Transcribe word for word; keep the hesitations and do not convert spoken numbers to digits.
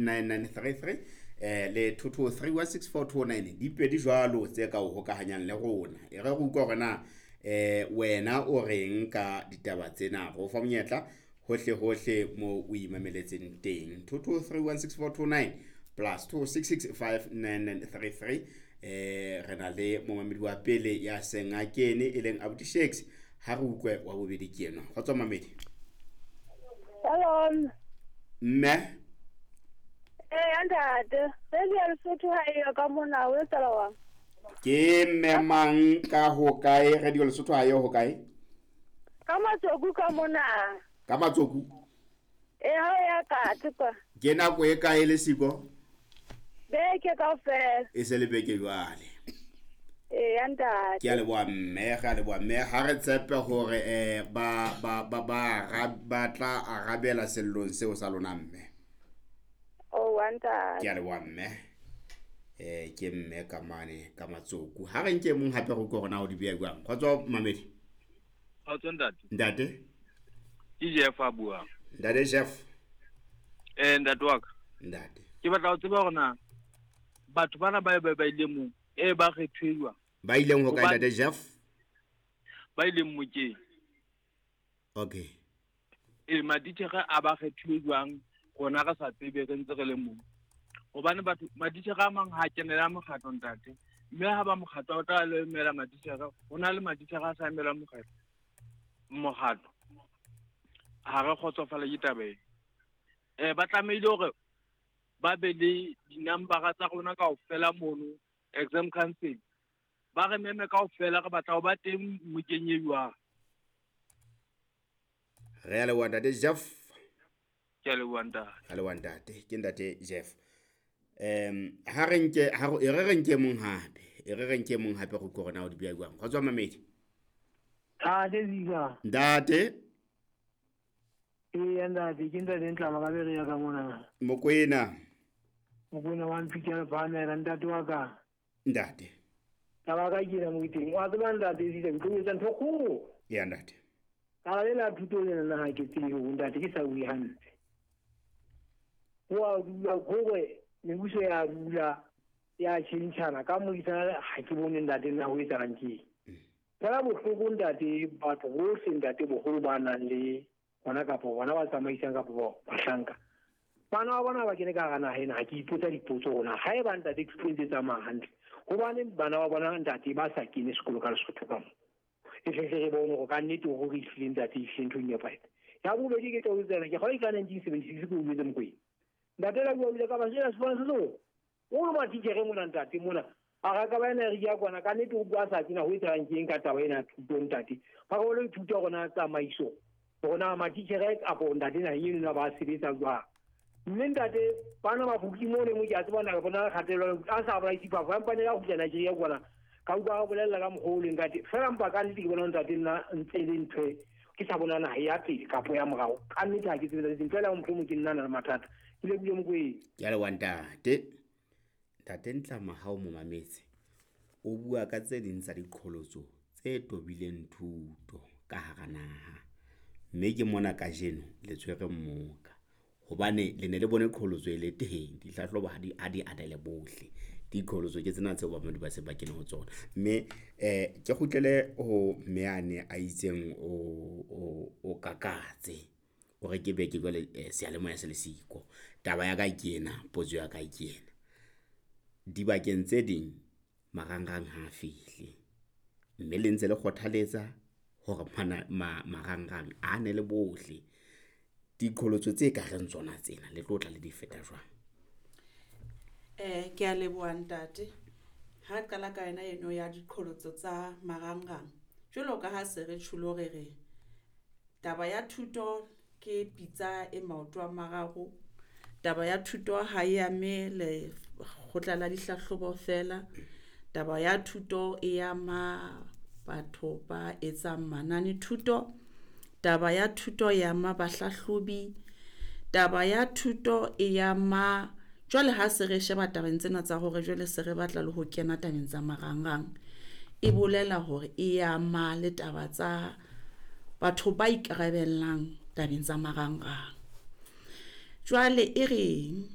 nine nine three three eh le two two three one six four two nine di pedi jwalo tse ka o hokahanyang le rona. E re re utlwa hore na eh wena o reng ka ditaba tsena, re o fa monyetla hohle hohle mo o imameletseng teng. Two two three one six four two nine plus two six six five nine nine three three. Eh re na le momamedi wa pele ya seng a kene e leng Abuti Shakes, ha re utlwe wa bobedi ke enwa. Kgotso mamedi. Hello. Mme. Eh, ntate, Radio Lesotho ha eyo ka mona, o etsahala jwang? Ke mme mang ka ho kae? Radio Lesotho ha eyo ho kae? Ka Matsoku ka mona. Ka Matsoku? Eh, ha ya ka kwa. Ke nako e kae le siko? Beke kaofela. E se le beke jwale. Eh, ntate. Ke a leboha mme, re a leboha mme. Ha re tshepe hore eh ba ba ba ba ba tla arabela sellong seo sa lona mme. Oh, ntate. Ke a leboha mme. Eh ke mme ka mane ka Matsoku. Ha re nke mong hape re utlwe hore na o di beha jwang. Kgotso mamedi. Kgotso ntate. Ntate. Ke Jeff a buang. Ntate Jeff. Eh ntate wa ka. Ntate. Ke batla ho tseba hore na batho bana ba ba ba ile mong e ba kgethuwa. Ba ileng ho kae ntate Jeff? Ba ileng mokeng. Okay. E maditjhere a ba kgethuwe jwang rona re sa tsebe re ntse re le mong. Hobane batho maditjhere a mang ha kenela mokgatlo ntate. Mme ha ba mokgatlo o tla lo emela maditjhere, ho na le maditjhere a sa emelang mokgatlo. Mokgatlo. Ha re kgotsofala ke taba ena. Eh ba tlamehile hore ba be le dinambara tsa rona kaofela mono exam council. Ba re meme kaofela re batla ho ba teng mokeng e jwang. Re a leboha ntate Jeff. Ke a leboha ntate. A leboha ntate. Ke ntate Jeff. Em ha re nke ha re re nke mong hape. E re re nke mong hape go utlwe hore na o di beha jwang. Kgotso mamedi. Ntate Zika. Ntate. Eh ntate ke ntate Ntlama ka bere ya ka mona. Mokwena. Mokwena wa mpitsa bana ntate wa ka. Ntate. Taba ka ke mo iteng. Wa tseba ntate Zika ke etsa ntho kgolo. Ya ntate. Ka le thuto le nna ha ke tsebe ho ntate ke sa bue hantle. Wa dula gore mebuso ya dula ya tjhentjhana ka moisana ha ke bone ntate nna ho etsahalang ke. Fela bohloko ntate batho bohle ntate boholo ba nang le bona kapa bona ba tsamaisang kapa ba bahlanka. Bana ba bona ba kene ka hara naha ena ha ke ipotsa dipotso rona ha eba ntate thuto e ntse tsamaya hantle. Hobane bana ba bona ntate ba sa kene sekolo ka Lesotho ka mo. E tle re bone hore ka nnete hore re ehlile ntate ehlile ntho e nepahetse. Ya bobedi ke tla o tsena ke kgole ka nineteen seventy-six ke o jwetse Mokwena. Ntate la bua ka ba jela sefane se seo. O re matitjhere mona ntate mona. A ra ka ba ena re ya kwana ka nnete o bua sa tsena ho etsahalang ke eng ka taba ena thuto ntate. Ba re o lo ithuta rona tsamaiso. Rona matitjhere kapo ntate na eno na ba sebetsa jwang. Mme ntate bana ba bukile mo le mo ke a tseba na bona kgatello a sa ba itse ba ba mpane ya kgutla Nigeria kwana. Ka utlwa ba bolella ka mokgwa o leng ka teng. Fela mpa ka nnete ke bona ntate nna ntse e le ntho e ke sa bona naha ya pele kapo ya morao. Ka nnete ha ke tsebe tse ding. Fela mohlomong ke nna na le mathata. Ke lebohile Mokwena. Ke a leboha ntate. Ntate Ntlama ha o mo mametse o bua ka tse ding tsa diqholotso tse tobileng thuto ka hara naha. Mme ke mona kajeno le tshwere mmoka. Hobane le ne le bone qholotso e le teng, dihlahlobo ha di ha di anele bohle. Diqholotso ke tsena tseo bamamedi ba se ba kene ho tsona. Mme eh ke kgutlele ho mme ane a itseng o o o kakatse. O re ke beke jwale seyalemoya se le siko. Taba ya ka ke ena, potso ya ka ke ena. Dibakeng tse ding marangrang ha a fihle. Mme le ntse le kgothaletsa hore mana marangrang a ne le bohle. Diqholotso tse ka reng tsona tsena le tlo tla le di feta jwang? Eh ke a leboha ntate. Ha qala ka yena eno ya diqholotso tsa marangrang. Jwalo ka ha se re tjhulo re re taba ya thuto ke pitsa e maoto a mararo. Taba ya thuto ha e ame le kgotla la dihlahlobo fela. Taba ya thuto e ama batho ba etsang manane thuto. Taba ya thuto e ama bahlahlobi. Taba ya thuto e ama jwale ha se re sheba tabeng tsena tsa hore jwale se re batla le ho kena tabeng tsa marangrang. E bolela hore e ama le taba tsa batho ba ikarabellang tabeng tsa marangrang. Jwale e reng